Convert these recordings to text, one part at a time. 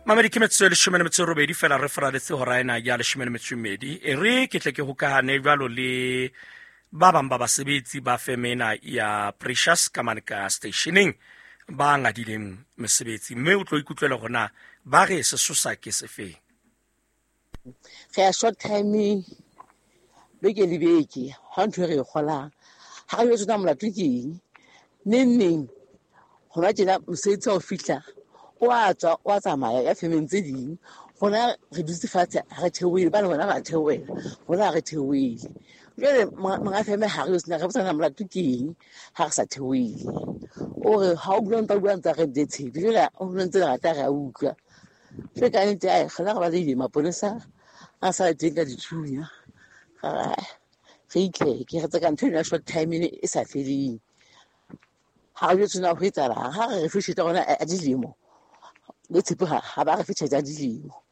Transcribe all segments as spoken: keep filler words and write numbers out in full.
Mamedi ke metsotso e leshome le metso e robedi fela re faraletse hora ena ya leshome le metso e mmedi. E re ke tle ke hokahane jwalo le ba bang ba basebetsi ba feme ena ya Precious ka mane ka stationeng ba ngadileng mesebetsi, mme o tlo ikutlwela hore na ba re sesosa ke sefeng. Re ya short timing beke le beke, ha ntho e re e kgolang ha re jwetsa molato ke eng. Neng neng hona tjena mosebetsi ha o fihla o a tswa, o a tsamaya ya femeng tse ding. Rona re dutse fatshe ha re theohele, ba le bona ba theohela, rona ha re theohele. Jwale monga feme ha re yo sena, re botsana molato ke eng ha re sa theohele. O re ha o bua ntse a bua ntse a re nte tshepe, jwale o bua ntse re rata re a utlwa. Jwale ka nnete, ai, rona re balehile maponesa a sa le teng ka dithunya. Re itleke, re tseka ntho ena ya short time e sa feleng. Ha re jwetse na ho etsahalang, ha re re fe tjhelete ya rona ya dilemo, le tshepe ha, ha ba re fe tjhelete ya dilemo.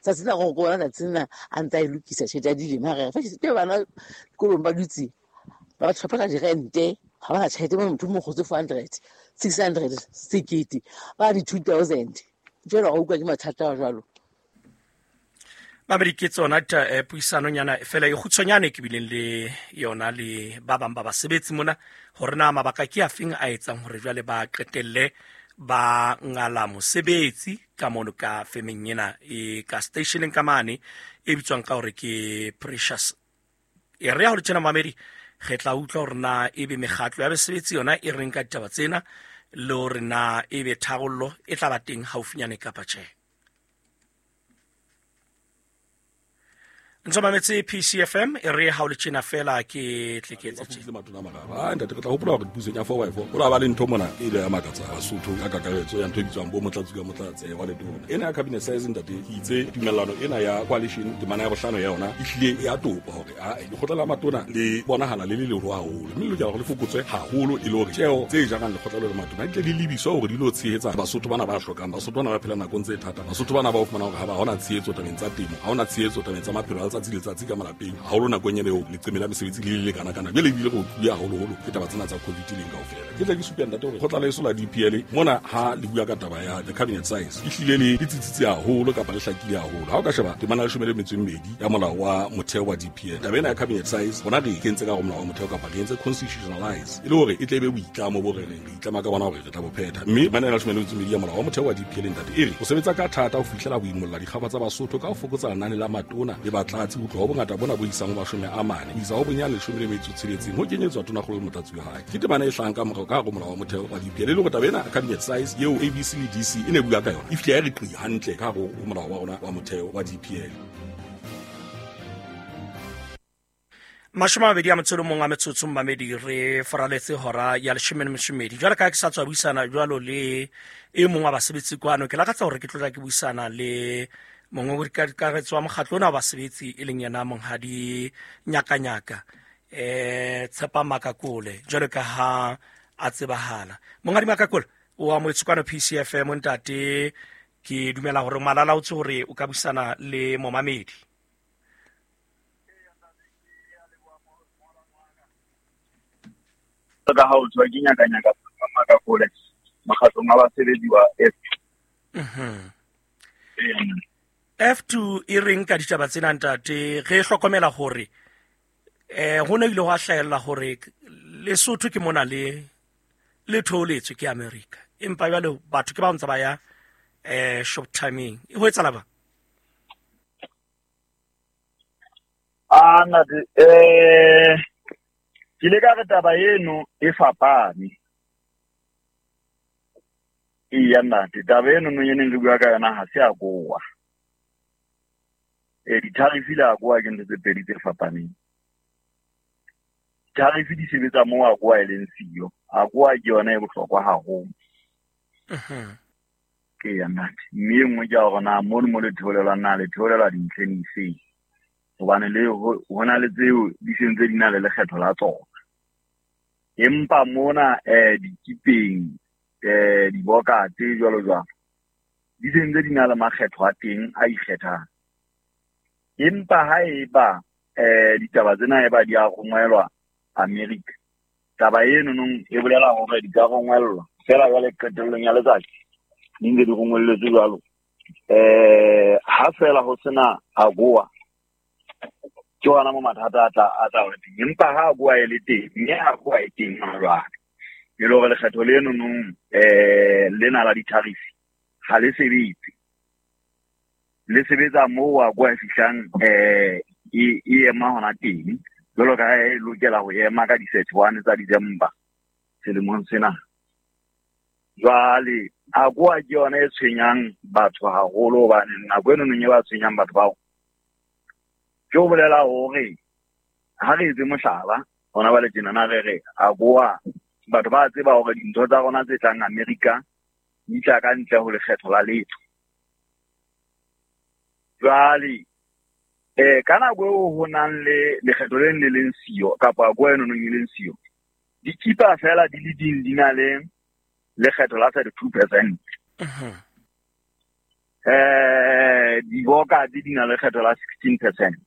Tsatsi la go bona tsatsi lena a ntse a e lokisa tjhelete ya dilemo, ha re re fe tjhelete. Ke bana dikolong ba dutse, ba ba tlhopha ka dirente, ha ba na tjhelete, motho o mo kgotse four hundred, six hundred, sekete, ba di two thousand. Jwale wa utlwa ke mathata a jwalo. Mamedi ke tsona ta, eh, puisanonyana fela e kgutshwanyane ke bileng le yona le ba bang ba basebetsi mona, hore na mabaka ke afeng a etsang hore jwale ba qetelle ba ngala mosebetsi ka mono ka femeng ena e ka stationeng ka mane e bitswang ka hore ke Precious. E re ya hore tjena mamedi re tla utlwa hore na ebe mekgatlo ya basebetsi yona e reng ka ditaba tsena, le hore na ebe tharollo e tla ba teng haufinyane kapa tjhe. Ntse mametse P C F M, e re ha o le tjena fela ke tle ke etse tjena. Ah, ntate, re tla hopola hore dipusong ya four by four, ho la ba le ntho mona e ile ya makatsa Basotho ka kakaretso ya ntho e bitswang bo motlatsi ka motlatsi wa letona. Ena ya cabinet size, ntate, ke itse tumellano ena ya coalition temana ya bohlano ya yona e hlile ya topa hore, ah, lekgotla la matona le bonahala le le leholo haholo, mme le lokela hore le fokotswe haholo e le hore tjeo tse jarang lekgotla le matona di tle di lebiswe hore di lo tshehetsa Basotho bana ba hlokang, Basotho bana ba phelang nakong tse thata, Basotho bana ba o fumanang hore ha ba hona tshehetso tabeng tsa temo, ha hona tshehetso tabeng tsa maphelo a letsatsi le letsatsi ka malapeng, haholo nakong ena eo leqeme la mesebetsi le le lekana kana. Jwale ebile re utlwile haholoholo ke taba tsena tsa COVID leng kaofela. Ke tla ke supe ntate hore kgotla leso la D P L mona ha le bua ka taba ya the cabinet size e hlile le le tsitsitse haholo kapa le hlakile haholo. Ha o ka sheba temana ya leshome le metso e mmedi ya molao wa motheo wa D P L, taba ena ya cabinet size rona re e kentse ka hare ho molao wa motheo kapa re entse constitutionalize e le hore e tle e be boitlamo bo re reng re itlama ka bona hore re tla bo phetha. Mme temana ya leshome le metso e mmedi ya molao wa motheo wa D P L ntate e re o sebetsa ka thata ho fihlela ho imolla dikgaba tsa Basotho ka ho fokotsa lenane la matona le batlatsi ho tloha ho bongata bona bo isang ho mashome a mane ho isa ho bonyane leshome le metso e tsheletseng ho kenyetswa tonakgolo le motlatsi wa hae. Ke temana e hlahang ka morao ka hare ho molao wa motheo wa D P L, e le hore taba ena cabinet size eo A B C le D C e ne bua ka yona e fihle ya re qi hantle ka hare ho molao wa rona wa motheo wa D P L. Mashome a mabedi a motso o le mong a metsotso mmamedi re faraletse hora ya leshome le metso e mmedi. Jwale ka ha ke sa tswa buisana jwalo le e mong wa basebetsi kwano, ke lakatsa hore ke tlo tla ke buisana le mongwe wa wa mokgatlo ona wa basebetsi e leng yena Monghadi Nyakanyaka, eh, Tshepa Makakole, jwalo ka ha a tsebahala. Monghadi Makakole o amohetswe kwano P C F M ntate, ke dumela hore malala o tse hore o ka buisana le momamedi. Ka ha o tswa ke Nyakanyaka Makakole mokgatlong wa basebetsi wa F two. Mhm. F two e reng ka ditaba tsena ntate? Re hlokomela hore eh ho ne ile hwa hlahella hore Lesotho ke mona le le thooletswe ke America, empa jwale batho ke ba ntse ba ya eh short timing. E ho etsahala ba? Ah, ntate, eh ke ile ka re taba eno e fapane. Eya ntate, taba eno no e neng re bua ka yona ha se a kowa. E di-tariff le a kowa ke ntho tse pedi tse fapaneng. Tariff di sebetsa moo a kowa e leng siyo. A kowa ke yona e bohlokwa haholo. Mhm. Eya ntate, mme e nngwe ke ya hore na mono mo le theolelwang na le theolelwa dintlheng dife? Hobane le ho, ho na le tseo di sentse di na le lekgetho la tsona. Empa mona, eh, dikipeng, eh, dibokate jwalo jwalo, di sentse di na le makgetho a teng a ikgethang. Empa ha eba, eh, ditaba tsena eba di a rongwelwa America, taba eno nong e bolela hore di ka rongwellwa fela jwale qetellong ya letsatsi di ntse di rongwelletswe jwalo, Eh ha fela ho sena AGOA ke hona mo mathata a tla a tla ba teng, empa ha AGOA e le teng, mme AGOA e teng hona jwale, e le hore lekgetho leno nong eh lena la di-tariff ha le sebetse, le sebetsa moo AGOA e fihlang eh e e ema hona teng, jwalo ka ha e lokela ho ema ka di-thirty-one tsa December selemong sena. Jwale AGOA ke yona e tshwenyang batho haholo, hobane nako eno nong e ba tshwenyang batho bao ke ho bolela hore ha re etse mohlala hona ba le tjenana re re AGOA batho ba tseba hore dintho tsa rona tse tlang America di tla ka ntle ho lekgetho la letho. Jwale eh ka nako eo ho nang le lekgetho le le leng siyo kapa AGOA eno nong e leng siyo, dikipa fela di le ding di na le lekgetho la thirty-two percent. Eh diboka di di na le lekgetho la sixteen percent.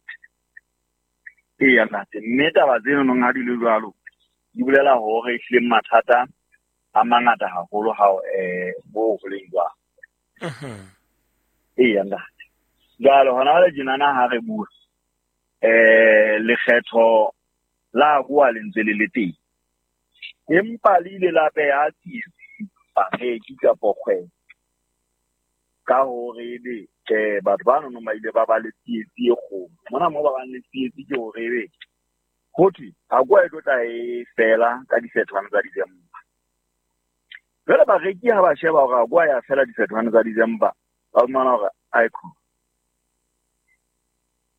Eya ntate, mme taba tseno nong ha di le jwalo di bolela hore ehlile mathata a mangata haholo ha eh bo ho leng jwalo. Eya ntate. Jwale hona jwale tjenana ha re bua eh lekgetho la AGOA le ntse le le teng, empa le ile la beha tsietsi bareki kapa kgwebo ka hore ebe eh batho ba nonong ba ile ba ba le tsietsi e kgolo. Mona moo ba bang le tsietsi ke hore ebe ho thwe AGOA e tlo tla e fela ka di-thirty-one tsa December. Jwale bareki ha ba sheba hore AGOA ya fela di-thirty-one tsa December, ba fumana hore aiko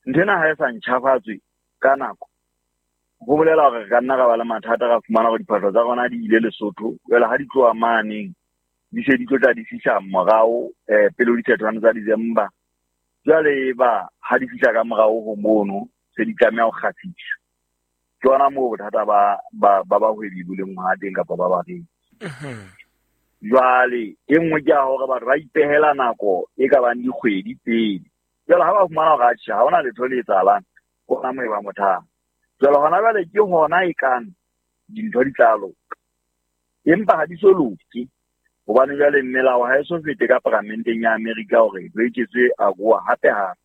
nthwena ha e sa ntjhafatswe ka nako, ho bolela hore re ka nna ra ba le mathata, ra fumana hore diphahlo tsa rona di ile Lesotho, jwale ha di tloha maneng di se di tlo tla di fihla morao eh pele ho di-thirty-one tsa December. Jwale ba ha di fihla ka morao ho mono se di tlameha ho kgafiswa. Ke hona moo bothata ba ba ba bahwebi bo leng hona teng kapa ba bareki. Jwale e nngwe ke ya hore batho ba ipehela nako e ka bang dikgwedi pele. Jwale ha ba fumana hore atjhe ha hona letho le etsahalang, ke hona moo e ba mothata. Jwale hona jwale ke hona e kang dintho di tla loka, empa ha di so loke, hobane jwale melao ha e so fete ka paramenteng ya Amerika hore ho eketswe AGOA hape hape.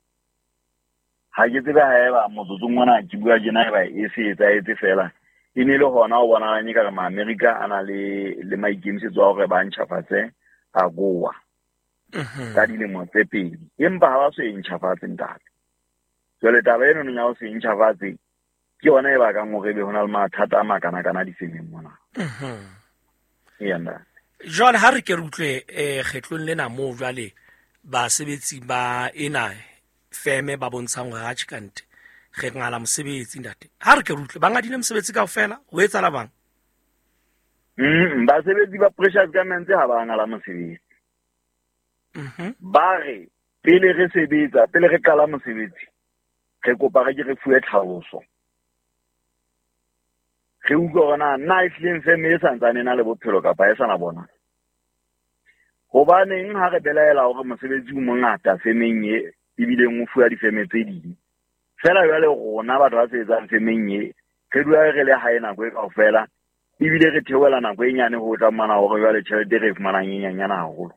Ha ke tsebe haeba motsotsong ona ke bua tjena eba e se etsahetse fela, e ne le hona ho bonahalang ekare ma-Amerika a na le le maikemisetso a hore ba ntjhafatse AGOA ka dilemo tse pedi, empa ha ba so e ntjhafatse ntate. Jwale taba eno ya ho se ntjhafatse ke yona e bakang hore ebe ho na le mathata a makanakana difemeng mona. Eya ntate. Jwale ha re ke re utlwe eh kgetlong lena moo jwale basebetsi ba ena feme ba bontshang hore atjhe kante re ngala mosebetsi ntate. Ha re ke re utlwe ba ngadile mosebetsi kaofela ho etsahala bang? Mm basebetsi ba Precious Garments ha ba ngala mosebetsi. Mhm. Ba re pele re sebetsa, pele re qala mosebetsi, re kopa re ke re fuwe tlhaloso. Re utlwe hore na na ehlileng feme e santsane e na le bophelo kapa e sa na bona. Hobaneng ha re belaela hore mosebetsi o mongata femeng e ebileng o fuwa difeme tse ding, fela jwale rona batho ba sebetsang femeng e re dula re le hae nako e kaofela, ebile re theohela nako e nyane ho tla fumana hore jwale tjhelete e re e fumanang e nyenyane haholo.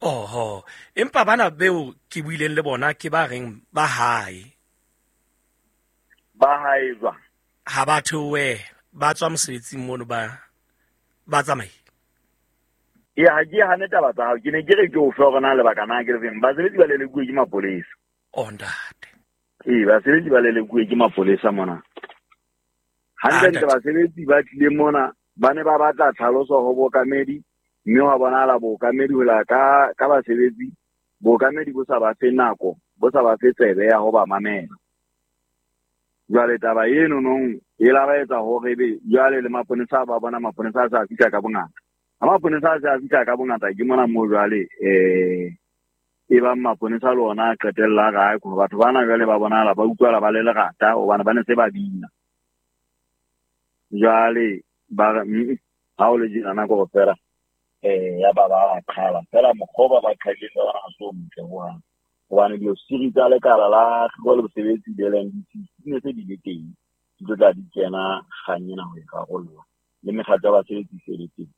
Oho, empa bana beo ke buileng le bona ke ba reng ba hae. Ba hae jwang? Ha ba theohe, ba tswa mosebetsing mono ba ba tsamaile. Ee, ha ke hane taba tsa hao, ke ne ke re ke o fe hore na lebaka na ke le feng. Basebetsi ba lelekuwe ke mapolesa. Oh ntate. Ee, basebetsi ba lelekuwe ke mapolesa mona. Hantle-ntle basebetsi ba tlile mona ba ne ba batla tlhaloso ho bookamedi, mme hwa bonahala bookamedi ho la ka ka basebetsi, bookamedi bo sa ba fe nako, bo sa ba fe tsebe ya ho ba mamela. Jwale taba eno nong e la ba etsa hore ebe jwale le maponesa ba bona maponesa a sa fihla ka bongata. Ha maponesa a sa fihla ka bongata ke mona moo jwale eh e bang maponesa le ona a qetella kae, batho bana jwale ba bonahala ba utlwala ba le lerata hobane ba ne se ba bina. Jwale ba re ha o le tjena nako fela eh ya ba ba qhala fela mokgwa ba ba qhadileng ka ona ha se o motle hohang, hobane diofisiri tsa lekala la tlhokomelo le bosebetsi le L N D C di ne se di le teng, di tlo tla di kena kgang ena ho e rarolla, le mekgatlo ya basebetsi e se le teng.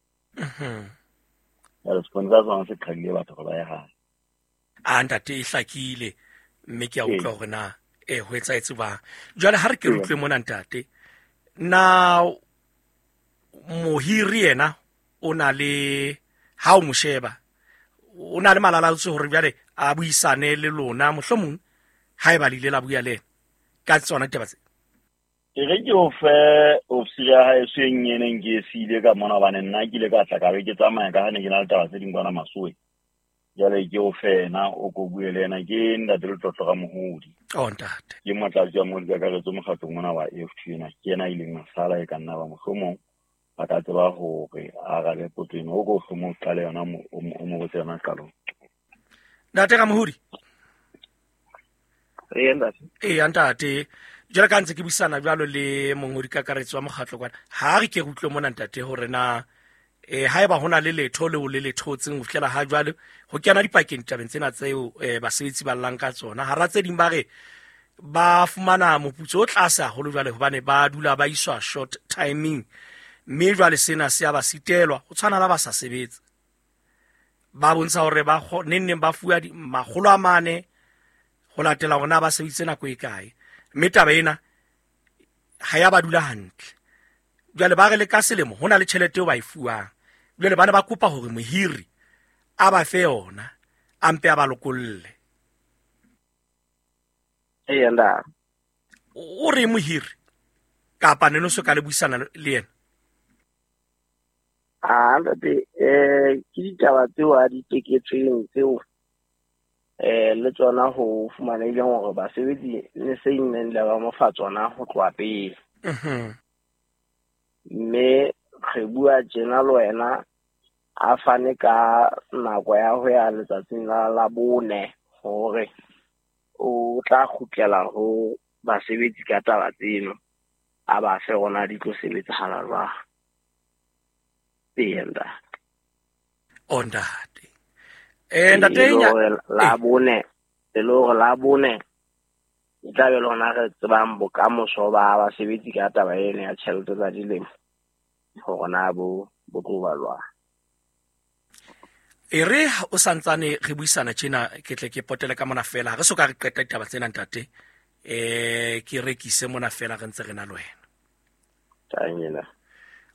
Jwale seponesa sona se qhalile batho hore ba ye hae. A ntate e hlakile mme ke a utlwa hore na e ho etsahetse jwang. Jwale ha re ke re utlwe mona ntate, na mohiri yena o na le ha o mo sheba o na le malalaotse hore jwale a buisane le lona mohlomong haeba le ile la bua le yena ka tsona ditaba tse? E re ke o fe ofisi ya hae e nyeneng ke e siile ka mona hobane nna ke ile ka tla ka be ke tsamaya ka ha ne ke na le taba tse ding kwana Masowe. Jwale ke o fe yena o ko bue le yena, ke ntate Letlotlo Ramohodi. Oh ntate. Ke motlatsi wa mongodi kakaretso mokgatlong ona wa A F T ena, ke yena a ileng a sala e ka nna ba mohlomong a ka tseba hore a arabe potso ena. O ko mohlomong o qale yona o mo botse yona qalong. Ntate Ramohodi. Ee ntate. Ee ntate. Jwale ka ntse ke buisana jwalo le mongodi kakaretso wa mokgatlo kwana, ha re ke re utlwe mona ntate hore na eh haeba hona le letho leo le le thotseng ho fihlela ha jwale ho kena dipakeng ditabeng tsena tseo eh basebetsi ba llang ka tsona. Hara tse ding ba re ba fumana moputso o tlase haholo jwale hobane ba dula ba iswa short timing, mme jwale sena se a ba sitelwa ho tshwana la ba sa sebetse. Ba bontsha hore ba neng neng ba fuwa makgolo a mane ho latela hore na ba sebeditse nako e kae, mme taba ena ha ya ba dula hantle. Jwale ba re le ka selemo ho na le tjhelete eo ba e fuwang. Jwale ba ne ba kopa hore mohiri a ba fe yona, a mpe a ba lokolle. Ee ntate. O re mohiri kapa ne no so ka le buisana le yena? Ah ntate, eh ke ditaba tseo a di teketsweng tseo eh le tsona ho fumanehileng hore basebetsi ne se neng le ba mo fa tsona ho tloha pele. Mhm. Mme re bua tjena le wena a fane ka nako ya ho ya letsatsing la la bone hore o tla kgutlela ho basebetsi ka taba tseno, a ba fe rona di tlo sebetsahala jwang. Ee ntate. O ntate. Eh ntate la bone, e le hore la bone e tla be lona re tsebang bokamoso ba basebetsi ka taba ena ya tjhelete tsa dilemo hore na bo bo tlo ba jwang. E re o santsane re buisana tjena ke tle ke potele ka mona fela, ha re so ka re qeta ditaba tsena ntate, eh ke rekise mona fela re ntse re na le wena. Tanyela.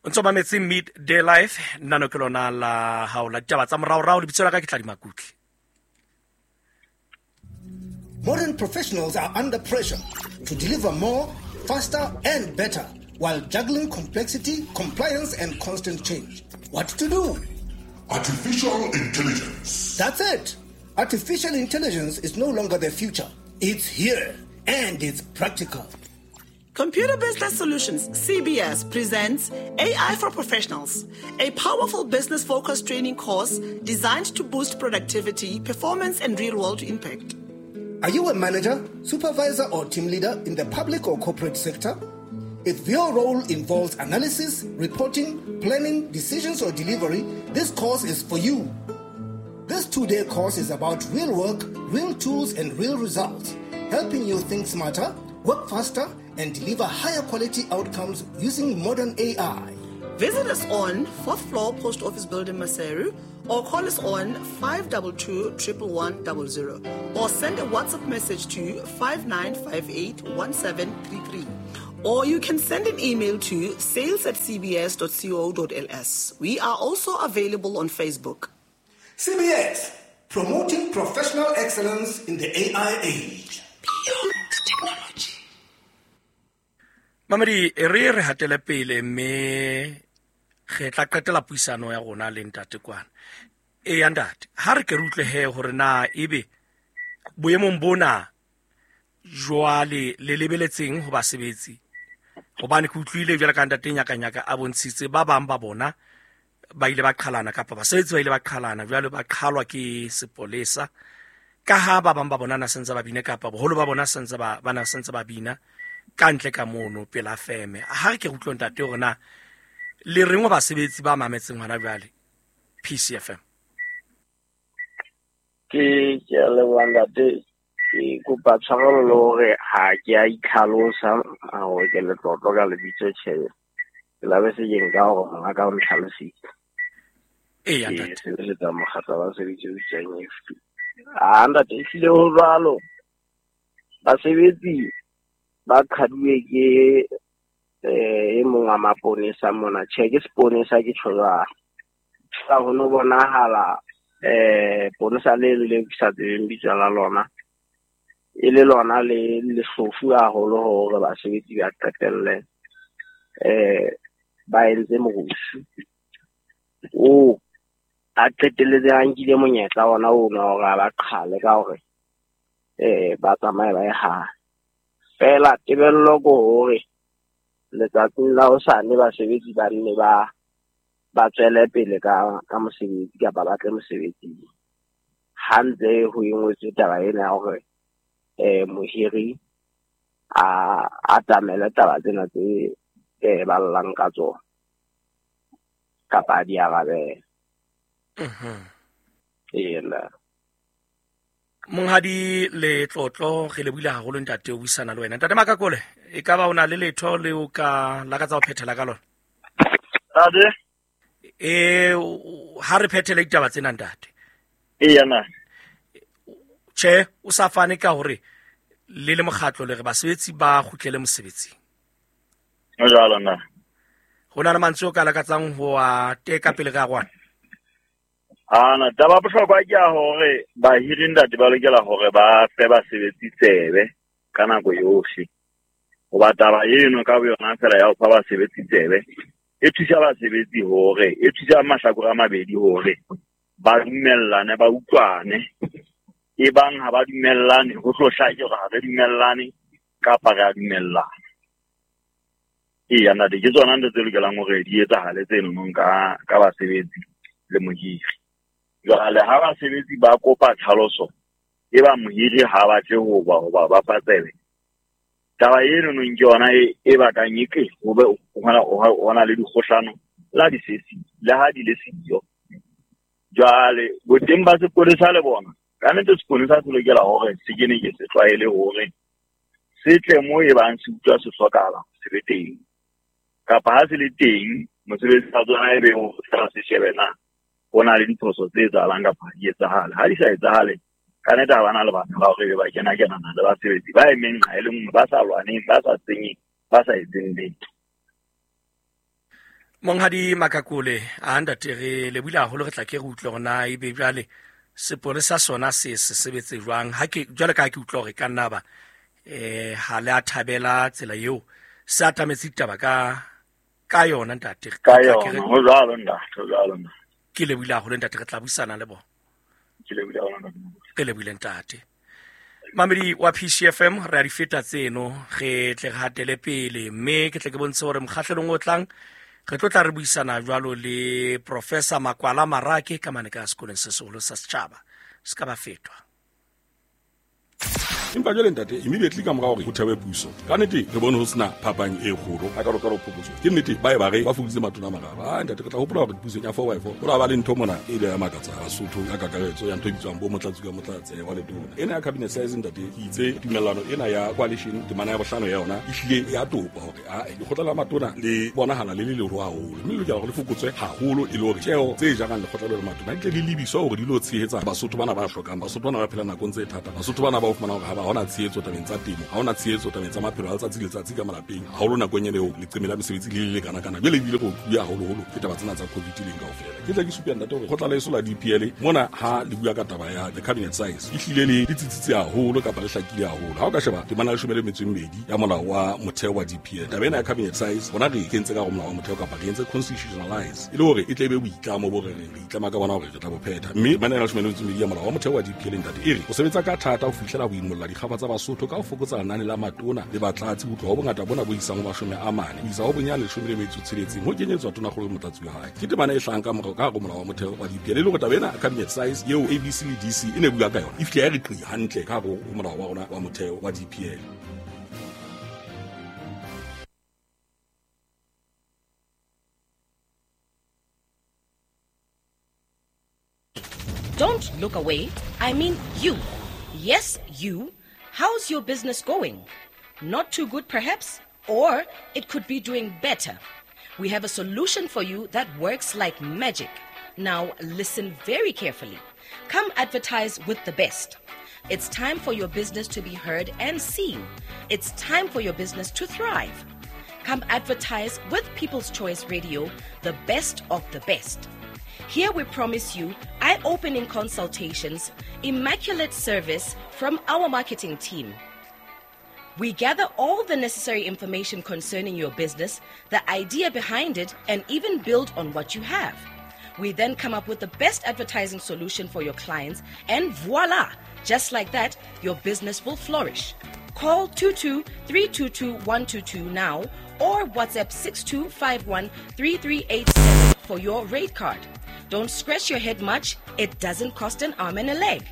O ntso mametse Midday Life, nna no ke lona la hao la ditaba tsa moraorao, lebitso la ka ke Tladi Makutle. Modern professionals are under pressure to deliver more, faster and better while juggling complexity, compliance and constant change. What to do? Artificial intelligence. That's it. Artificial intelligence is no longer the future. It's here and it's practical. Computer Business Solutions, C B S, presents A I for Professionals, a powerful business-focused training course designed to boost productivity, performance, and real-world impact. Are you a manager, supervisor, or team leader in the public or corporate sector? If your role involves analysis, reporting, planning, decisions, or delivery, this course is for you. This two-day course is about real work, real tools, and real results, helping you think smarter, work faster, and deliver higher quality outcomes using modern A I. Visit us on fourth floor Post Office Building, Maseru, or call us on five two two, one one one zero zero or send a WhatsApp message to five nine five eight one seven three three. Or you can send an email to sales at c b s dot co dot l s. We are also available on Facebook. C B S, promoting professional excellence in the A I age. Beyond technology. Mamedi, re re hatele pele mme re tla qetela puisano ya rona le ntate kwana. E ya ntate, ha re ke re utlwe he hore na ebe boemong bona jwale le lebeletseng ho basebetsi, hobane ke utlwile jwale ka ntate Nyakanyaka a bontshitse ba bang ba bona ba ile ba qhalana kapa basebetsi ba ile ba qhalana jwale ba qhalwa ke sepolesa ka ha ba bang ba bona na sentse ba bina kapa boholo ba bona sentse ba bana sentse ba bina ka ntle ka mono pela feme. Ha re ke utlwe ntate hore na le reng wa basebetsi ba mametseng hona jwale P C F M. Ke ke a leboha ntate, ke kopa tshwarelo le hore ha ke a itlhalosa hore ke letlotlo ka lebitso tjhe. Ke la be se ke nka hore monga ka o ntlhalositse. Eya ntate. Ke sebeletsa mokgatlo wa basebetsi o bitswang F P. Ah ntate, ehlile ho jwalo. Basebetsi ba qhaduwe ke eh e mong wa maponesa mona. Tjhe, ke seponesa ke tjho jwalo. Ka ho no bonahala eh ponesa le le ke sa tsebeng bitso la lona. E le lona le lehlofu haholo hore basebetsi ba qetelle eh ba entse morusu. O a qetelletse a nkile monyetla ona ono hore a ba qhale ka hore eh ba tsamaye ba ye hae. Fela tebello ke hore letsatsing la hosane basebetsi ba nne ba ba tswele pele ka ka mosebetsi kapa ba tle mosebetsing. Ha ntse ho engwetswe taba ena ya hore eh mohiri a atamele taba tsena tse eh ba llang ka tsona kapa di arabele. Mhm. Ela. Monghadi Letlotlo, re lebohile haholo ntate o buisana le wena. Ntate Makakole, e ka ba o na le letho le o ka lakatsa ho phethela ka lona? Ntate? Eh ha re phethele ditaba tsena ntate. Eya na. Tjhe, o sa fane ka hore le le mokgatlo le re basebetsi ba kgutlele mosebetsing. Ho jwalo na. Ho na le mantswe o ka lakatsang ho a teka pele ka rona? Ana taba bohlokwa ke ya hore bahiri ntate ba lokela hore ba fe basebetsi tsebe ka nako yohle. Hoba taba eno ka boyona fela ya ho fa basebetsi tsebe e thusa basebetsi hore e thusa mahlakore a mabedi hore ba dumellane, ba utlwane. E bang ha ba dumellane ho tlo hlake hore ha re dumellane kapa re a dumellana. Eya ntate, ke tsona ntho tse lokelang hore di etsahale tseno ka ka basebetsi le mohiri. Jwale ha basebetsi ba kopa tlhaloso e ba mohiri ha batle ho ba ho ba ba fa tsebe. Taba eno nong ke yona e e bakang eke ho be ho na le dikgohlano la di sesi le ha di le siyo. Jwale boteng ba sepolesa le bona ka nnete sepolesa se lokela hore se kene ke se tlwaele hore se tle mo e bang se utlwa se hlokahala se be teng. Kapa ha se le teng mosebetsi wa tsona e be o tla se shebe na ho na le diphoso tse etsahalang kapa ha di etsahale. Ha di sa etsahale ka nnete ha bana lebaka la hore ba kena kenana le basebetsi ba emeng nqa e le nngwe, ba sa lwaneng, ba sa senyeng, ba sa etseng letho. Monghadi Makakole, a ntate re lebohile haholo, re tla ke re utlwe hore na ebe jwale sepolesa sona se se sebetse jwang. Ha ke jwale ka ha ke utlwa hore ka nna ba eh ha le a thabela tsela eo se atametse ditaba ka ka yona ntate. Ka yona, ho jwalo ntate, ho jwalo ntate. Ke lebohile haholo ntate, re tla buisana le bona. Ke lebohile haholo ntate. Ke lebohile ntate. Mamedi wa P C F M, re a di feta tseno, re tle re hatele pele mme ke tle ke bontshe hore mokgahlelong o tlang re tlo tla re buisana jwalo le Professor Makwala Marake ka mane ka sekolong se seholo sa setjhaba. Se ka ba fetwa. Empa jwale ntate, immediately ka mora hore ho thewe puso, ka nnete re bone ho sena phapang e kgolo ha ka roka phokotso. Ke nnete ba e ba re ba fokoditse matona a mararo. Ah ntate, re tla hopola hore pusong ya four by four ho la ba le ntho mona e ile ya makatsa Basotho ka kakaretso ya ntho e bitswang bo motlatsi ka motlatse wa letona. Ena ya cabinet size ntate, ke itse tumellano ena ya coalition temana ya bohlano ya yona e hlile ya topa hore a lekgotla la matona le bonahala le le leholo haholo, mme le lokela hore le fokotswe haholo e le hore tjeo tse jarang lekgotla le matona di tle di lebiswa hore di lo tshehetsa Basotho bana ba hlokang, Basotho bana ba phela nakong tse thata, Basotho bana ba o fumana hore ha hona tshehetso tabeng tsa temo, ha hona tshehetso tabeng tsa maphelo a letsatsi le letsatsi ka malapeng, haholo nakong ena eo leqeme la mesebetsi le le lekana kana. Jwale ebile go bua haholoholo ke taba tsena tsa COVID leng kaofela. Ke tla ke supe ntate hore kgotla la eso la D P L mona ha le bua ka taba ya the cabinet size e hlile le le tsitsitse haholo kapa le hlakile haholo. Ha o ka sheba temana ya leshome le metso e mmedi ya molao wa motheo wa D P L, taba ena ya cabinet size bona re kentse ka hare ho molao wa motheo kapa re entse constitutionalize e le hore e tle e be boitlamo bo re reng re itlama ka bona hore re tla bo phetha. Mme temana ya leshome le metso e mmedi ya molao wa motheo wa D P L ntate e re o sebetsa ka thata ho fihlela ho imolla dikgaba tsa Basotho ka ho fokotsa lenane la matona le batlatsi ho tloha ho bongata bona bo isang ho mashome a mane ho isa ho bonyane leshome le metso tsheletseng ho kenyetswa tonakgolo le motlatsi wa hae. Ke temana e hlahang ka morao ka hare ho molao wa motheo wa D P L e le hore taba ena cabinet size eo A B C le D C e ne bua ka yona e fihle ya re qi hantle ka hare ho molao wa rona wa motheo wa D P L. Don't look away. I mean you. Yes, you. How's your business going? Not too good, perhaps? Or it could be doing better. We have a solution for you that works like magic. Now listen very carefully. Come advertise with the best. It's time for your business to be heard and seen. It's time for your business to thrive. Come advertise with People's Choice Radio, the best of the best. Here we promise you eye-opening consultations, immaculate service from our marketing team. We gather all the necessary information concerning your business, the idea behind it, and even build on what you have. We then come up with the best advertising solution for your clients, and voila! Just like that, your business will flourish. Call two two three two two one two two now or WhatsApp six two five one three three eight seven for your rate card. Don't scratch your head much. It doesn't cost an arm and a leg.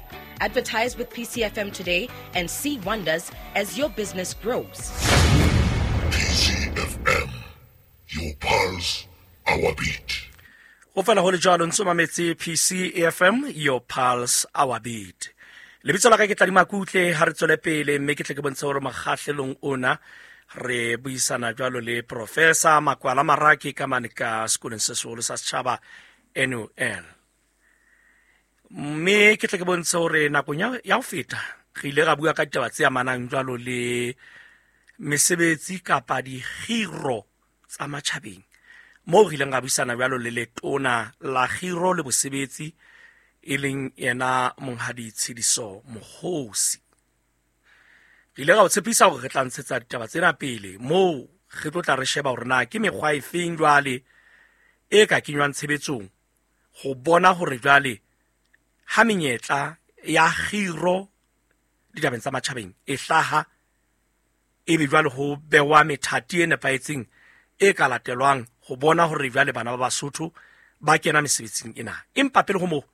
Advertise with P C F M today and see wonders as your business grows. P C F M, your pulse, our beat. Ho fela ho le jwalo ntso mametse P C F M, your pulse, our beat. Lebitso la ka ke Tladi Makutle, ha re tswele pele mme ke tle ke bontshe hore mokgahlelong ona re buisana jwalo le Professor Makwala Marake ka mane ka sekolong se seholo sa setjhaba N U L. Mme ke tle ke bontshe hore nakong ya ho feta re ile ra bua ka ditaba tse amanang jwalo le mesebetsi kapa dikgiro tsa matjhabeng, moo re ileng ra buisana jwalo le letona la kgiro le bosebetsi e leng yena Monghadi Tshidiso Mokgosi. Re ile ra o tshepisa hore re tla ntshetsa ditaba tsena pele, moo re tlo tla re sheba hore na ke mekgwa e feng jwale e ka kenywang tshebetsong ho bona hore jwale ha menyetla ya kgiro ditabeng tsa matjhabeng e hlaha, ebe jwale ho bewa methati e nepahetseng e ka latelwang ho bona hore jwale bana ba Basotho ba kena mesebetsing ena. Empa pele ho moo,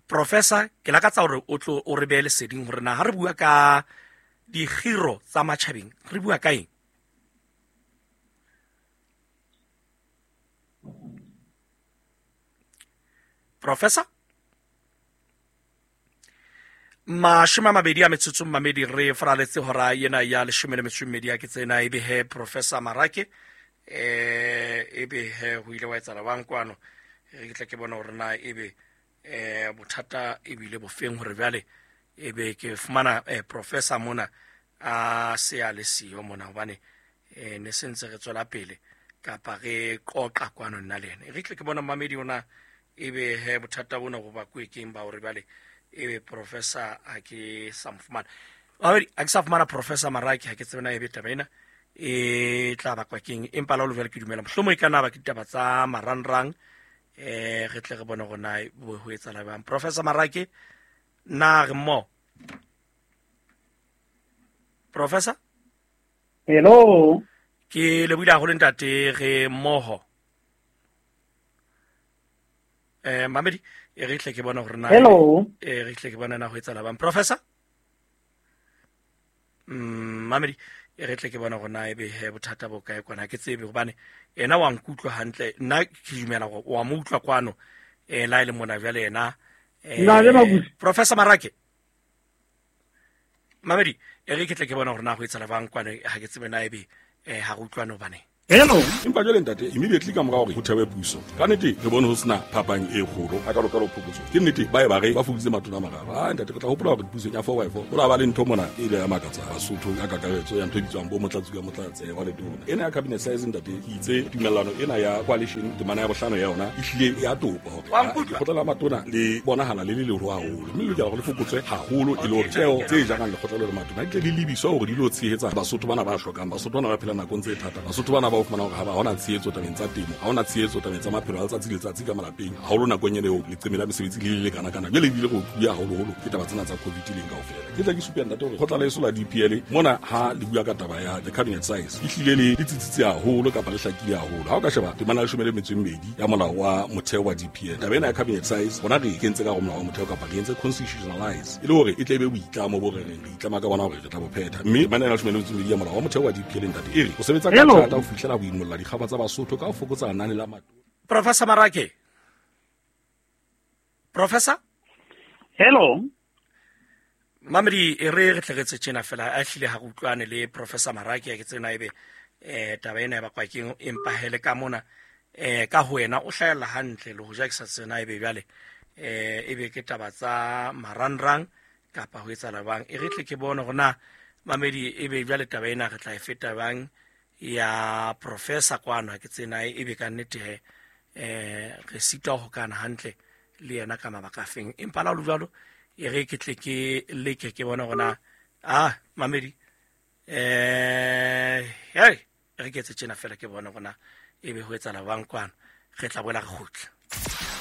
Professor, ke lakatsa hore o tlo o re behe leseding hore na ha re bua ka dikgiro tsa matjhabeng re bua ka eng? Professor? Mashome a mabedi a metsotso mmamedi re faraletse hora ena ya leshome le metso e mmedi ya ke tsena ebe he Professor Marake eh ebe he ho ile wa etsahala bang kwano, re tle ke bona hore na ebe eh bothata ebile bofeng hore jwale ebe ke fumana eh, Professor mona a se a le siyo mona, hobane eh ne sentse re tswela pele kapa re qoqa kwano nna le yena. Re tle ke bona mmamedi ona ebe he bothata bona go ba kwekeng ba hore jwale ebe Professor a ke sa mo fumana. Mamedi a ke sa fumana Professor Marake, ha ke tsebe na ebe taba ena e tla bakwa keng, empa la o jwale ke dumela mohlomong e ka na ba ke ditaba tsa marangrang eh re tle re bone hore na ho etsahala jwang. Professor Marake, na re mo? Professor? Hello. Ke lebohile haholo ntate, re mmoho. Eh mamedi e re tle ke bona hore na Hello. E re tle ke bona na ho etsahala bang. Professor? Mm mamedi e re tle ke bona hore na ebe he bothata bo kae kwana, ke tsebe hobane ena wa nkutlwa hantle, nna ke dumela hore wa mo utlwa kwano eh la ile mona jwale yena eh Professor Marake. Mamedi e re ke tle ke bona hore na ho etsahala bang kwana, ha ke tsebe na ebe eh ha re utlwane hobane. Hello. Empa jwale ntate, immediately ka mora hore ho thewe puso, ka nnete re bone ho sena phapang e kgolo a ka lokalo phokotso. Ke nnete ba e ba re ba fokoditse matona a mararo. Ah ntate, re tla hopola hore pusong ya four by four ho la ba le ntho mona e ile ya makatsa Basotho ka kakaretso ya ntho e bitswang bo motlatsi ka motlatse wa letona. Ena ya cabinet size ntate, ke itse tumellano ena ya coalition temana ya bohlano ya yona e hlile ya topa hore lekgotla la matona le bonahala le le leholo haholo, mme le lokela hore le fokotswe haholo e le hore tjeo tse jarang lekgotla le matona di tle di lebiswe hore di lo tshehetsa Basotho bana ba hlokang, Basotho bana ba phelang nakong tse thata, Basotho bana ba o fumana hore ha ba hona tshehetso tabeng tsa temo, ha hona tshehetso tabeng tsa maphelo a letsatsi le letsatsi ka malapeng, haholo nakong ena eo leqeme la mesebetsi le le kana kana. Jwale ebile re utlwa haholoholo ke taba tsena tsa COVID leng kaofela. Ke tla ke supe ntate hore kgotla la eso la D P L mona ha le bua ka taba ya the cabinet size e hlile le le tsitsitse haholo kapa le hlakile haholo. Ha o ka sheba temana ya leshome le metso e mmedi ya molao wa motheo wa D P L, taba ena ya cabinet size bona re e kentse ka hare ho molao wa motheo kapa re entse constitutionalize e le hore e tle be boitlamo bo re reng re itlama ka bona hore re tla bo phetha. Mme temana ya leshome le metso e mmedi ya molao wa motheo wa D P L ntate e re o sebetsa ka thata ho fihlela ho imolla dikgaba tsa Basotho ka ho fokotsa lenane la matona. Professor Marake. Professor? Hello. Mamedi e re re tle re tse tjena fela a hlile ha re utlwane le Professor Marake, ke tsena ebe eh taba ena e bakwa keng, empa hele ka mona eh ka ho wena o hlahella hantle le ho ja ke sa tsena ebe jwale eh ebe ke taba tsa marangrang kapa ho etsahala bang. E re tle ke bone hore na mamedi ebe jwale taba ena re tla e feta bang ya professor kwano ha ke tsena ebe ka nnete he eh re sita ho kana hantle le yena ka mabaka a feng. Empa la ho le jwalo e re ke tle ke leke ke bone hore na ah mamedi eh hey re ke etse tjena fela ke bone hore na ebe ho etsahala bang kwano re tla boela re kgutla.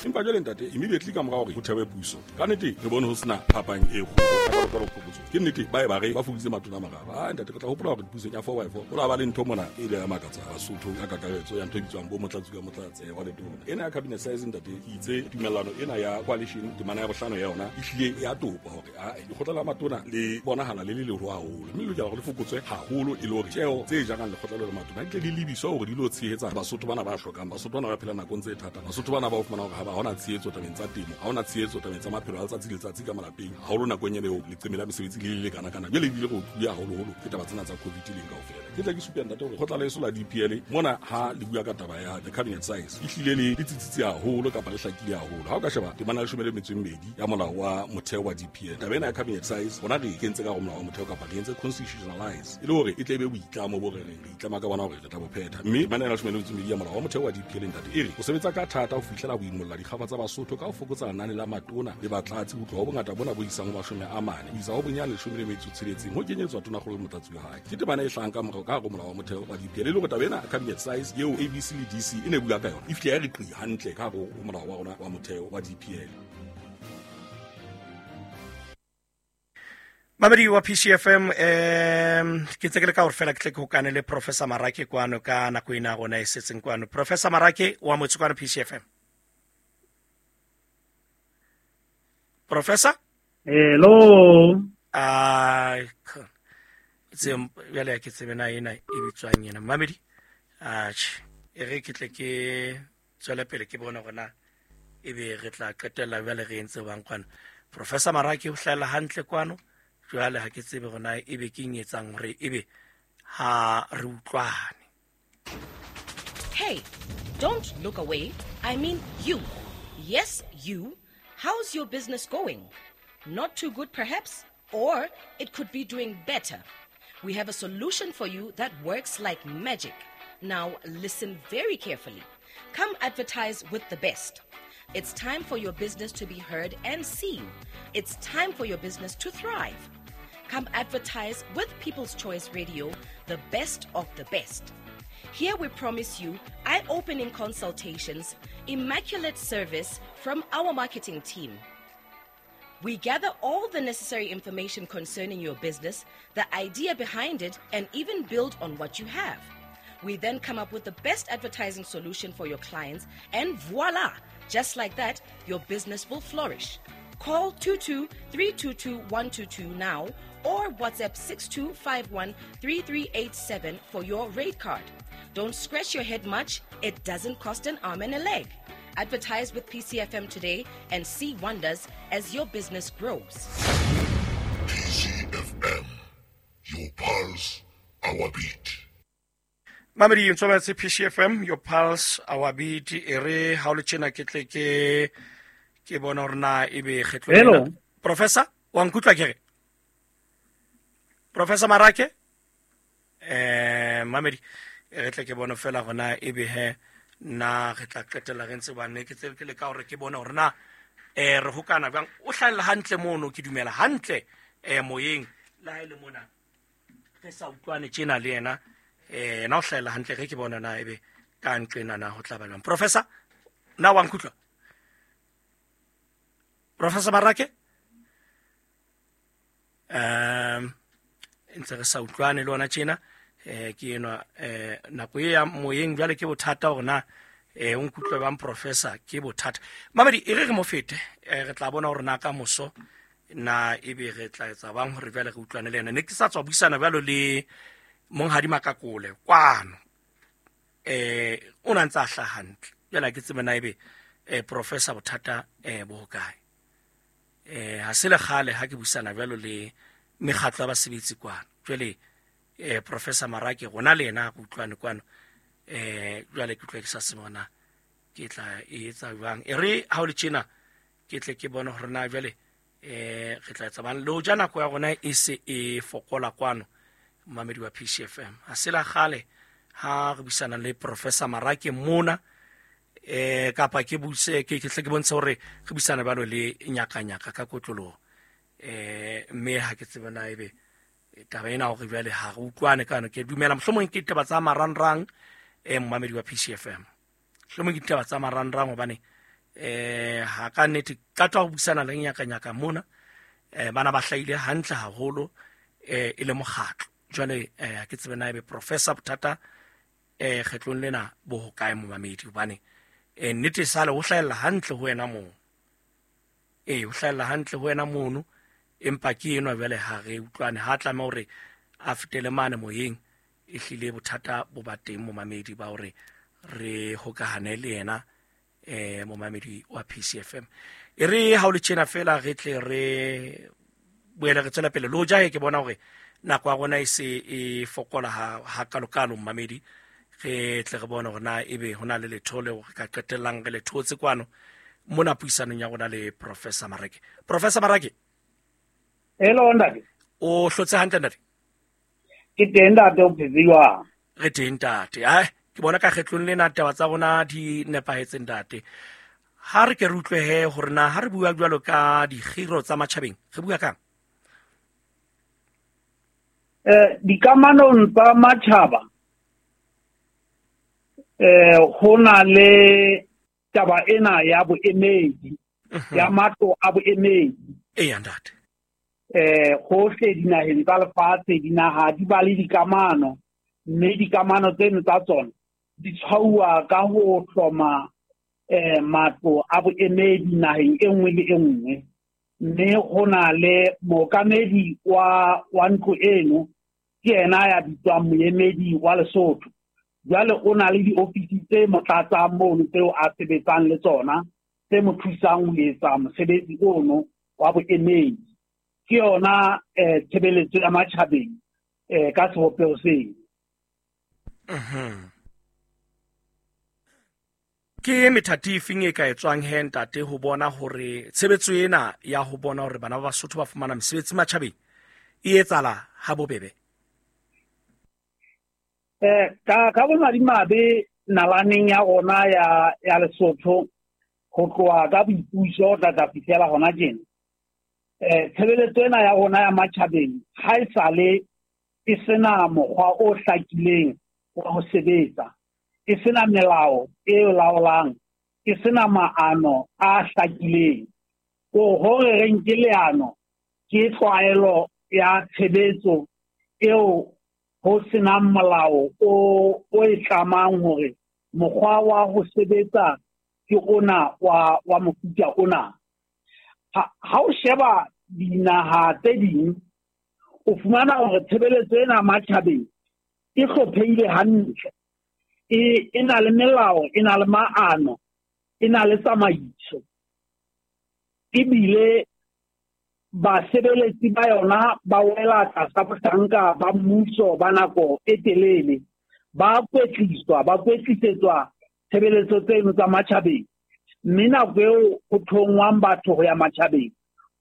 Empa jwale ntate immediately ka mora hore ho thewe puso ka nnete re bone ho sena phapang e kgolo. Ke nnete ba e ba re ba fokoditse matona a mararo. Ah ntate re tla hopola hore pusong ya four by four ho la ba le ntho mona e ile ya makatsa Basotho ka kakaretso ya ntho e bitswang bo motlatsi ka motlatse wa letona. Ena ya cabinet size ntate ke itse tumellano ena ya coalition temana ya bohlano ya yona e hlile ya topa hore a lekgotla la matona le bonahala le le leholo haholo mme le lokela hore le fokotswe haholo e le hore tjeo tse jarang lekgotla le matona di tle di lebiswa hore di lo tshehetsa Basotho bana ba hlokang, Basotho bana ba phelang nakong tse thata, Basotho bana ba o fumana hore ha ba hona tshehetso tabeng tsa temo, ha hona tshehetso tabeng tsa maphelo a letsatsi le letsatsi ka malapeng haholo nakong ena eo leqeme la mesebetsi le le lekana kana jwale ebile re utlwile haholoholo ke taba tsena tsa COVID leng kaofela. Ke tla ke supe ntate hore kgotla leso la D P L mona ha le bua ka taba ya the cabinet size e hlile le le tsitsitse haholo kapa le hlakile haholo. Ha o ka sheba temana ya leshome le metso e mmedi ya molao wa motheo wa D P L, taba ena ya cabinet size rona re e kentse ka hare ho molao wa motheo kapa re entse constitutionalize e le hore e tle e be boitlamo bo re reng re itlama ka bona hore re tla bo phetha. Mme temana ya leshome le metso e mmedi ya molao wa motheo wa D P L ntate e re o sebetsa ka thata ho fihlela ho imolla dikgafa tsa Basotho ka ho fokotsa lenane la matona le batlatsi ho tloha ho bongata bona bo isang ho mashome a mane ho isa ho bonyane leshome le metso e tsheletseng ho kenyetswa tonakgolo le motlatsi wa hae. Ke temana e hlahang ka morao ka hare ho molao wa motheo wa D P L e le hore taba ena cabinet size eo A B C le D C e ne bua ka yona e fihle ya re qi hantle ka hare ho molao wa rona wa motheo wa D P L. Mamedi wa P C F M em ke tse ke le ka hore fela ke tle ke hokane le Professor Marake kwano ka nako ena rona e setseng kwano. Professor Marake wa motse kwano P C F M. Professor? Hello. Ah tse jwale ke tsebe na ena e bitswang ena mamedi. Atjhe e re ke tle ke tswele pele ke bone hore na ebe re tla qetella jwale re entse bang kwano. Professor Marake o hlahella hantle kwano. Jwale ha ke tsebe hore na ebe ke eng etsang hore ebe ha re utlwane. Hey, don't look away. I mean you. Yes, you. How's your business going? Not too good perhaps, or it could be doing better. We have a solution for you that works like magic. Now listen very carefully. Come advertise with the best. It's time for your business to be heard and seen. It's time for your business to thrive. Come advertise with People's Choice Radio, the best of the best. Here we promise you eye-opening consultations, immaculate service from our marketing team. We gather all the necessary information concerning your business, the idea behind it, and even build on what you have. We then come up with the best advertising solution for your clients, and voila! Just like that, your business will flourish. Call two two three two two one two two now or WhatsApp six two five one three three eight seven for your rate card. Don't scratch your head much. It doesn't cost an arm and a leg. Advertise with P C F M today and see wonders as your business grows. P C F M, your pulse, our beat. Mamedi ntshobetse P C F M, your pulse, our beat. E re ha o le tjena ke tle ke ke bona hore na ebe kgetlo Hello. Professor, wa nkutlwa ke re? Professor Marake? Eh Mamedi re tle ke bona fela hore na ebe he na re tla qetella re ntse ba ne ke tse ke le ka hore ke bone hore na eh re hokana bang o hlahella hantle mono ke dumela hantle eh moyeng la ha ile mona re sa utlwane tjena le yena eh na o hlahella hantle re ke bona na ebe ka nqena na ho tla ba jwang. Professor, na wa nkutlwa? Professor Marake? Um ntse re sa utlwane le ona tjena eh ke enwa eh nako e ya moyeng jwale ke bothata hore na eh o nkutlwe bang professor ke bothata. Mamedi e re re mo fete re tla bona hore na ka moso na ebe re tla etsa bang hore jwale re utlwane le yena. Ne ke sa tswa buisana jwalo le Monghadi Makakole kwano eh o na ntse a hlaha hantle jwale ke tsebe na ebe eh professor bothata eh bo hokae. Eh ha se le kgale ha ke buisana jwalo le mekgatlo ya basebetsi kwano jwale eh Professor Marake rona le yena re utlwane kwano eh jwale ke utlwa ke sa se bona ke tla e etsa jwang. E re ha o le tjena ke tle ke bone hore na jwale eh re tla etsa bang le hoja nako ya rona e se e fokola kwano momamedi wa P C F M. Ha se la kgale ha re buisana le Professor Marake mona eh kapa ke buse ke ke tle ke bontshe hore re buisana balo le nyakanyaka ka kotloloho eh mme ha ke tsebe na ebe taba ena hore jwale ha re utlwane kana ke dumela mohlomong ke ditaba tsa marangrang eh momamedi wa P C F M. Mohlomong ke ditaba tsa marangrang hobane eh ha ka nnete ka twa ho buisana le nyakanyaka mona eh bana ba hlahile hantle haholo eh e le mokgatlo. Jwale eh ke tsebe na ebe Professor bothata eh kgetlong lena bo hokae momamedi hobane eh nnete sale ho hlahella hantle ho wena moo eh ho hlahella hantle ho wena mono empa ke enwa jwale ha re utlwane ha tlameha hore a fetele mane moyeng e hlile bothata bo ba teng momamedi ba hore re hokahane le yena eh momamedi wa P C F M. E re ha o le tjena fela re tle re boele re tswela pele le hoja ke bona hore nako ya rona e se e fokola ha ha kalokalo momamedi re tle re bone hore na ebe hona le letho leo re ka qetellang re le thotse kwano mona puisanong ya rona le Professor Marake. Professor Marake. Hello ntate. O hlotse hantle ntate? Ke teng ntate, o phetse jwang? Re teng ntate. Ai ke bona ka kgetlong lena taba tsa rona di nepahetse ntate. Ha re ke re utlwe he hore na ha re bua jwalo ka dikgiro tsa matjhabeng re bua kang? Eh dikamanong tsa matjhaba eh ho na le taba ena ya boemedi ya matlo a boemedi. Eya ntate. Eh hohle dinaheng tsa lefatshe dinaha di ba le dikamano mme dikamano tseno tsa tsona di tshwauwa ka ho hloma eh matlo a boemedi naheng e nngwe le e nngwe mme ho na le mookamedi wa wa ntlo eno ke yena ya bitswang moemedi wa Lesotho. Jwale o na le diofisi tse mo tlatsang mono tseo a sebetsang le tsona tse mo thusang ho etsa mosebetsi ono wa boemedi. Ke yona eh tshebeletso ya matjhabeng eh ka sebopeho seo. Mhm. Ke methati e feng e ka etswang he ntate ho bona hore tshebetso ena ya ho bona hore bana ba Basotho ba fumana mesebetsi matjhabeng e etsala ha bobebe? Eh ka ka bomadimabe nalaneng ya rona ya ya Lesotho ho tloha ka boipuso tla tla fihlela hona tjena eh tshebeletso ena ya rona ya matjhabeng ha e sale e sena mokgwa o hlakileng wa ho sebetsa, e sena melao e laolang, e sena maano a hlakileng. Ko hore re nke leano ke tlwaelo ya tshebetso eo ho senang molao o o e tlamang hore mokgwa wa ho sebetsa ke ona wa wa mofuta ona. Ha ha o sheba dinaha tse ding o fumana hore tshebeletso ena matjhabeng e hlophehile hantle, e e na le melao, e na le maano, e na le tsamaiso, ebile basebeletsi ba yona ba wela tlasa bohlanka ba mmuso ba nako e telele, ba kwetliswa ba kwetlisetswa tshebeletso tseno tsa matjhabeng. Mme nako eo ho thongwang batho ho ya matjhabeng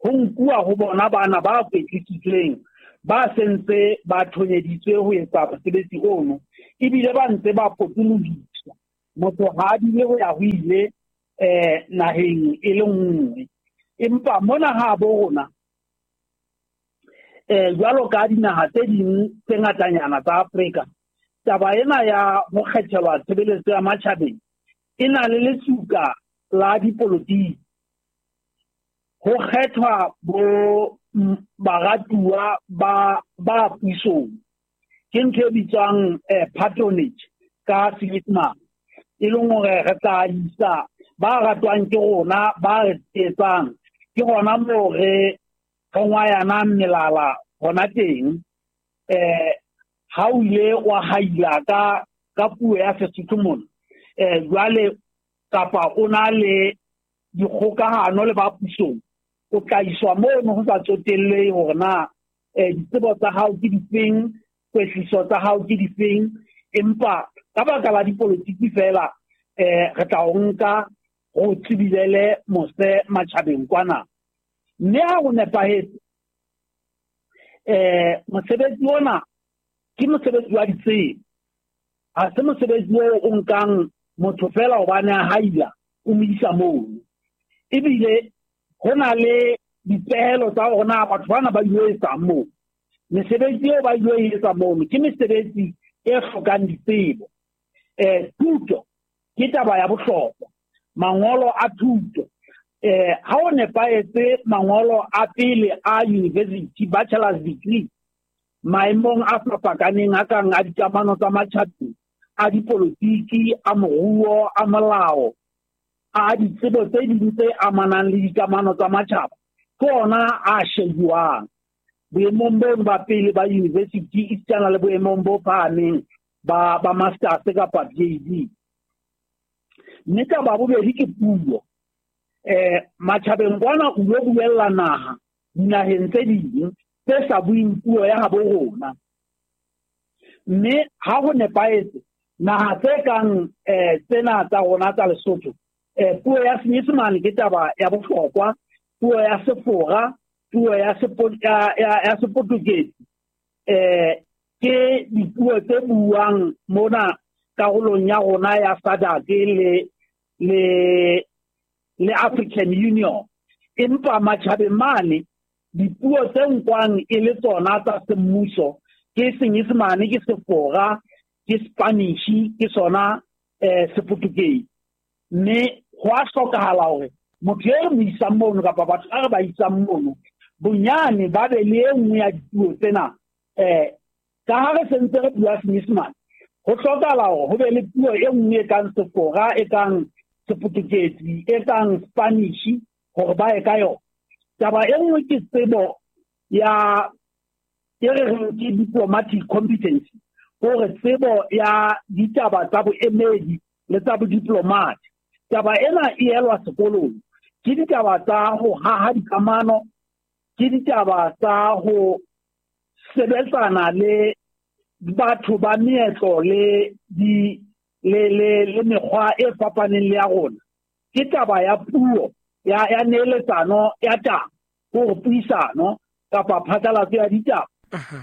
ho nkuwa ho bona bana ba kwetlisitsweng ba sentse ba thonyeditswe ho etsa mosebetsi ono ebile ba ntse ba potolohiswa. Motho ha a dule ho ya ho ile eh naheng e le nngwe. Empa mona ha bo rona eh jwalo ka dinaha tse ding tse ngatanyana tsa Afrika, taba ena ya ho kgethelwa tshebeletso ya matjhabeng e na le lesuka la dipolotiki. Ho kgethwa bo baratuwa ba ba pusong ke ntho e bitswang eh, patronage ka Senyesemane, e leng hore re tla isa ba ratwang ke rona ba re etsang ke hona moo re re ngwayanang melala hona teng. Eh ha o ile wa haila ka ka puo ya Sesotho mona eh jwale kapa o na le dikgokahano le ba pusong o tla iswa mono ho sa tsotellehe hore na eh ditsebo tsa hao ke difeng, kwetliso tsa hao ke difeng, empa ka baka la dipolotiki fela eh re tla o nka go tsebilele mose matjhabeng kwana. Mme ha go nepahetse eh mosebetsi ona ke mosebetsi wa ditsebo, ha se mosebetsi o o nkang motho fela hobane a haila o mo isa mono. Ebile ho na le dipehelo tsa hore na batho bana ba ilo etsang moo. Mesebetsi eo ba ilo etsa mono ke mesebetsi e hlokang ditsebo. Eh thuto ke taba ya bohlokwa, mangolo a thuto. Eh ha o nepahetse mangolo a pele a university, bachelor's degree, maemong a fapakaneng a kang a dikamano tsa matjhabeng, a dipolotiki, a moruo, a molao, a ditsebo tse ding tse amanang le dikamano tsa matjhaba, ke ona a shebuwang boemong bono ba pele ba university esitana le boemong bo phahameng ba ba masters kapa P H D. Mme taba ya bobedi ke puo. Eh matjhabeng kwana o lo buella naha dinaheng tse ding tse sa bueng puo ya habo rona. Mme ha ho nepahetse naha tse kang eh tsena tsa rona tsa Lesotho, eh puo ya Senyesemane ke taba ya bohlokwa, puo ya Sefora, puo ya ya ya Seportuguese, eh ke dipuo tse buang mona karolong ya rona ya S A D C le le le African Union. Empa matjhabeng mane dipuo tse nkwang e le tsona tsa semmuso ke Senyesemane, ke Sefora, ke Spanish, ke sona eh Seportuguese. Mme ho a hlokahala hore motho e re mo isang mono kapa batho ba re ba isang mono bonyane ba be le e nngwe ya dipuo tsena. Eh ka ha re sentse re bua Senyesemane, ho hlokahala hore ho be le puo e nngwe e kang Sefora, e kang Seportuguese, e kang Spanish, hore ba ye ka yona. Taba e nngwe ke tsebo ya e re reng ke diplomatic competency, hore tsebo ya ditaba tsa boemedi le tsa bodiplomat. Taba ena e elwa sekolong, ke ditaba tsa ho haha dikamano, ke ditaba tsa ho sebetsana le batho ba meetlo le di le le le mekgwa e fapaneng le ya rona. Ke taba ya puo ya ya neeletsano ya taba, hore puisano kapa phatlalatso ya ditaba.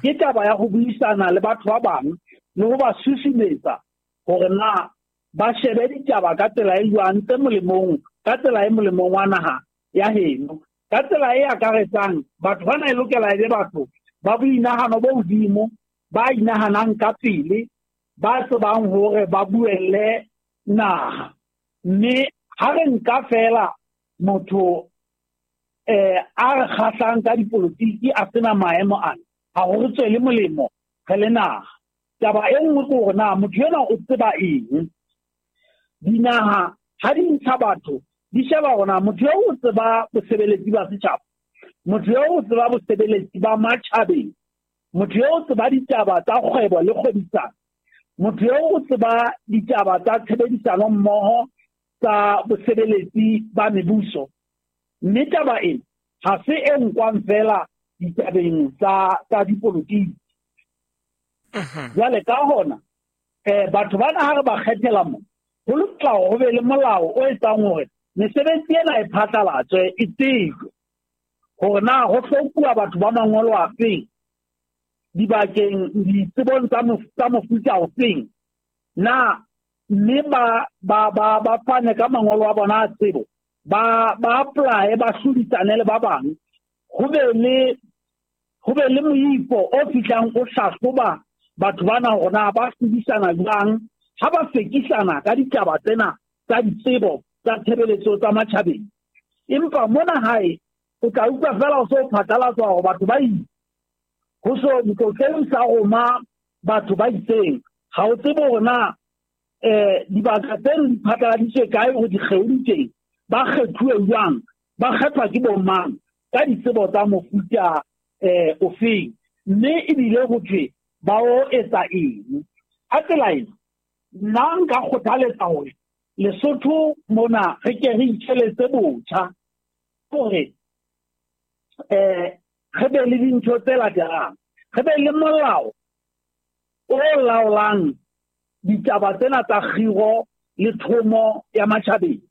Ke taba ya ho buisana le batho ba bang le ho ba susumetsa hore na ba shebe ditaba ka tsela e jwang tse molemong, ka tsela e molemong wa naha ya heno, ka tsela e akaretsang batho bana. E lokela e be batho ba boinahano bo hodimo, ba inahanang ka pele, ba tsebang hore ba buelle naha. Mme ha re nka fela motho eh a re kgahlang ka dipolotiki a sena maemo ana, ha ho re tswele molemo re le naha. Taba e nngwe ke hore na motho enwa o tseba eng. Dinaha ha di ntsha batho di sheba hore na motho eo o tseba bosebeletsi ba setjhaba, motho eo o tseba bosebeletsi ba matjhabeng, motho eo o tseba ditaba tsa kgwebo le kgwebisano, motho eo o tseba ditaba tsa tshebedisano mmoho tsa bosebeletsi ba mebuso. Mme taba ena ha se e nkwang fela ditabeng tsa tsa dipolotiki. Jwale ka hona eh batho bana ha re ba kgethela mo, ho lokela hore ho be le molao o etsang hore mesebetsi ena e phatlalatswe, e tsejwe hore na ho hlokuwa batho ba mangolo afeng dibakeng, ditsebong tsa mofuta ofeng na, mme ba ba ba ba fane ka mangolo a bona a tsebo, ba ba apply, ba hlodisane le ba bang, ho be le ho be le moifo o fihlang o hlahloba batho bana hore na ba hlodisana jwang ha ba fekisana ka ditaba tsena tsa ditsebo tsa tshebeletso tsa matjhabeng. Empa mona hae o tla utlwa fela o so phatlalatswa hore batho ba itse, ho so ntlotleng sa roma batho ba itseng, ha o tsebe hore na eh dibaka tseno di phatlaladitswe kae, hore dikgeo di teng, ba kgethuwe jwang, ba kgethwa ke bo mang, ka ditsebo tsa mofuta eh ofeng, mme ebile ho thwe ba o etsa eng. Ka tsela ena nna nka kgothaletsa hore Lesotho mona re ke re itjheletse botjha hore eh re be le dintho tse latelang. Re be le molao o laolang ditaba tsena tsa kgiro le thomo ya matjhabeng.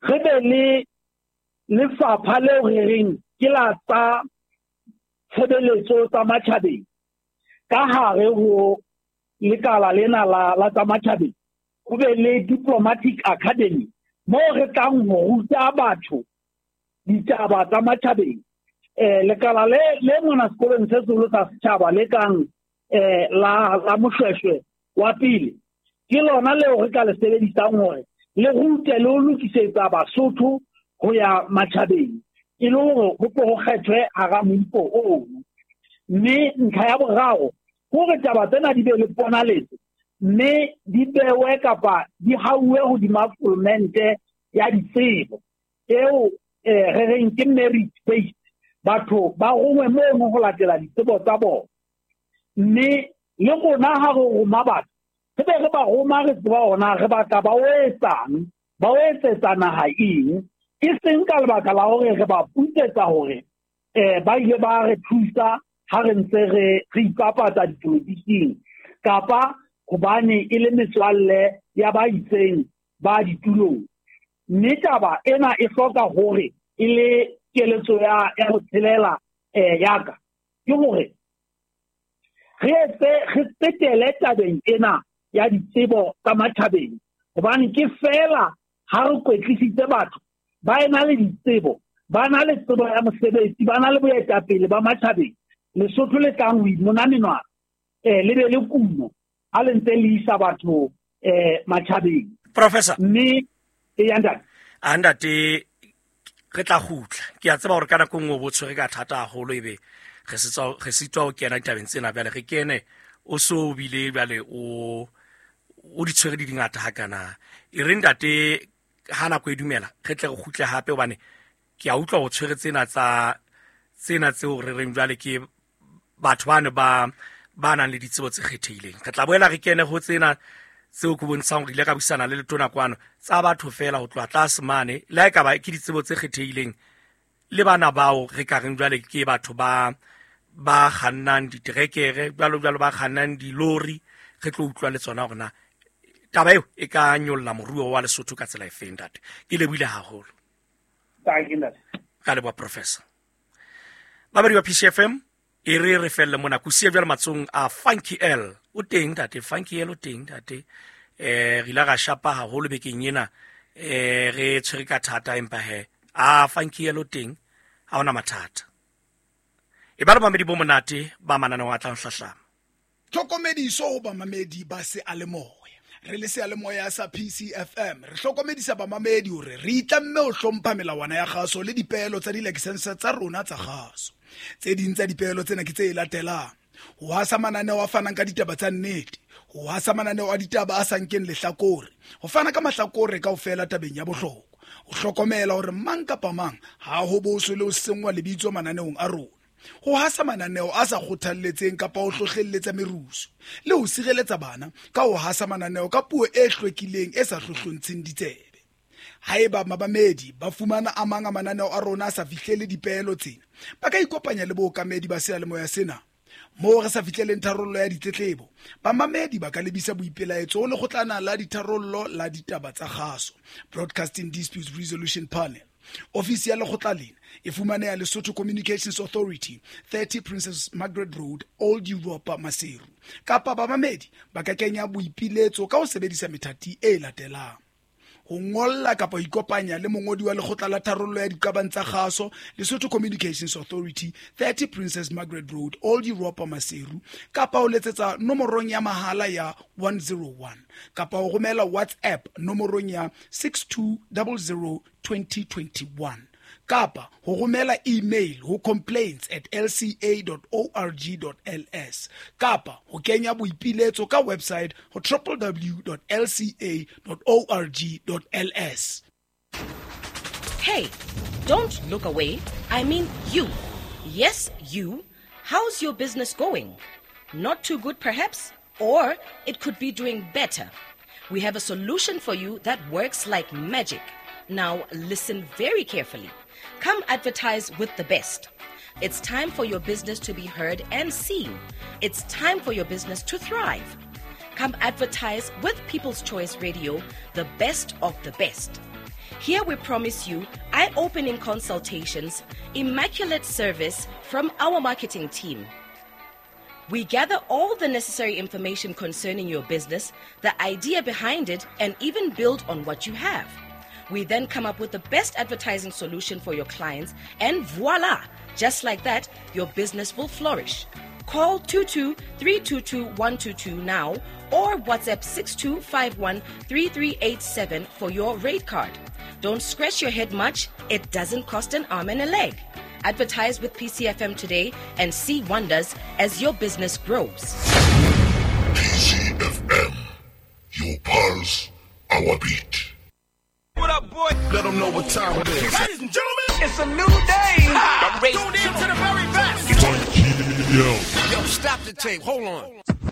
Re be le lefapha leo re reng ke la tsa tshebeletso tsa matjhabeng ka hare ho lekala lena la la tsa matjhabeng, ho be le diplomatic academy moo re tlang ho ruta batho ditaba tsa matjhabeng. Eh lekala le le mona sekolong se seholo sa setjhaba le kang eh la la Moshweshwe wa pele ke lona leo re ka le sebedisang hore le rute le ho lokisetsa Basotho ho ya matjhabeng, e le hore ho tlo ho kgethwe hara moifo ono. Mme ntlha ya boraro hore taba tsena di be le ponaletso mme di bewe kapa di hauwe hodima fulmente ya ditsebo eo eh re reng ke merit based, batho ba rongwe mono ho latela ditsebo tsa bona. Mme le rona ha re roma batho re be re ba roma re tseba hona re batla ba o etsang, ba o etsetsa naha eng, e seng ka lebaka la hore re ba putsetsa hore eh ba ile ba re thusa ha re ntse re re ipapatsa dipolotiking kapa hobane e le metswalle ya ba itseng ba ditulong. Mme taba ena e hloka hore e le keletso ya ya ho tshelela eh ya ka ke hore re etse re tsetele tabeng ena ya ditsebo tsa matjhabeng, hobane ke fela ha re kwetlisitse batho ba ena le ditsebo, ba na le tsebo ya mosebetsi, ba na le boetapele ba matjhabeng, Lesotho le tlang ho imona menwana eh le be le kuno ha le ntse le isa batho eh matjhabeng. Professor, mme e ya ntate a ntate re tla kgutla. Ke a tseba hore ka nako nngwe bo tshwere ka thata haholo, ebe re setswa re sitwa ho kena ditabeng tsena. Bjale re kene o so bile bjale o o di tshwere di dingata hakana. E re ntate ha nako e dumela re tle re kgutle hape, hobane ke a utlwa ho tshwere tsena tsa tsena tseo re reng jwale ke batho bano ba ba nang le ditsebo tse kgethehileng. Re tla boela re kene ho tsena tseo ke bontshang hore ile ka buisana le letona kwano tsa batho fela ho tloha tlase mane, le ha e ka ba ke ditsebo tse kgethehileng le bana bao re ka reng jwale ke batho ba ba kgannang diterekere jwalo jwalo, ba kgannang dilori. Re tlo utlwa le tsona hore na taba eo e ka nyolla moruo wa Lesotho ka tsela efeng. Ntate, ke lebohile haholo. Ka leboha Professor. Babadi ba P C F M, e re re felle mona kusiya jwale matsong a Funky L. O teng ntate, Funky L o teng ntate. Eh re ile ra shapa haholo bekeng ena, eh re tshwere ka thata, empa he a Funky L o teng, ha ona mathata. E ba le mamedi bo monate ba mananeo a tlang hlahlama. Tlhokomediso ho bamamedi ba seyalemoya. Re le seyalemoya sa P C F M re hlokomedisa bamamedi hore re itlamme ho hlompha melawana ya kgaso le dipeelo tsa dilakesense tsa rona tsa kgaso. Tse ding tsa dipeelo tsena ke tse latelang: ho hasa mananeo a fanang ka ditaba tsa nnete, ho hasa mananeo a ditaba a sa nkeng lehlakore, ho fana ka mahlakore kaofela tabeng ya bohlokwa, ho hlokomela hore mang kapa mang ha ho boswe le ho senngwa lebitso mananeong a rona, ho hasa mananeo a sa kgothalletseng kapa ho hlohlelletsa merusu, le ho sireletsa bana ka ho hasa mananeo ka puo e hlwekileng e sa hlohlontsheng ditsebe. Haeba mabamedi ba fumana a mang a mananeo a rona a sa fihlele dipeelo tsena, ba ka ikopanya le bookamedi ba seyalemoya sena. Moo re sa fihleleng tharollo ya ditletlebo, bamamedi ba ka lebisa boipelaetso ho lekgotlana la ditharollo la ditaba tsa kgaso, Broadcasting Disputes Resolution Panel. Ofisi ya lekgotla lena e fumaneha Lesotho Communications Authority, thirty Princess Margaret Road, Old Europa, Maseru. Kapa bamamedi ba ka kenya boipiletso ka ho sebedisa methati e latelang: ho ngolla kapa ho ikopanya le mongodi wa lekgotla la tharollo ya diqabang tsa kgaso, Lesotho Communications Authority, thirty Princess Margaret Road, Old Europa, Maseru, kapa ho letsetsa nomorong ya mahala ya one zero one, kapa ho romela WhatsApp nomorong ya six two zero zero twenty twenty-one, kapa ho romela email ho complaints at l c a dot org dot l s, kapa ho kenya boipiletso ka website ho w w w dot l c a dot org dot l s. Hey, don't look away. I mean you. Yes, you. How's your business going? Not too good perhaps, or it could be doing better. We have a solution for you that works like magic. Now listen very carefully. Come advertise with the best. It's time for your business to be heard and seen. It's time for your business to thrive. Come advertise with People's Choice Radio, the best of the best. Here we promise you eye-opening consultations, immaculate service from our marketing team. We gather all the necessary information concerning your business, the idea behind it, and even build on what you have. We then come up with the best advertising solution for your clients, and voila! Just like that, your business will flourish. Call two two three two two one two two now or WhatsApp six two five one three three eight seven for your rate card. Don't scratch your head much. It doesn't cost an arm and a leg. Advertise with P C F M today and see wonders as your business grows. P C F M, your pulse, our beat. What up, boy? Let them know what time it is. Ladies and gentlemen, it's a new day. Ha! Tuned in to the very best. Yo. Yo, stop the tape. Hold on.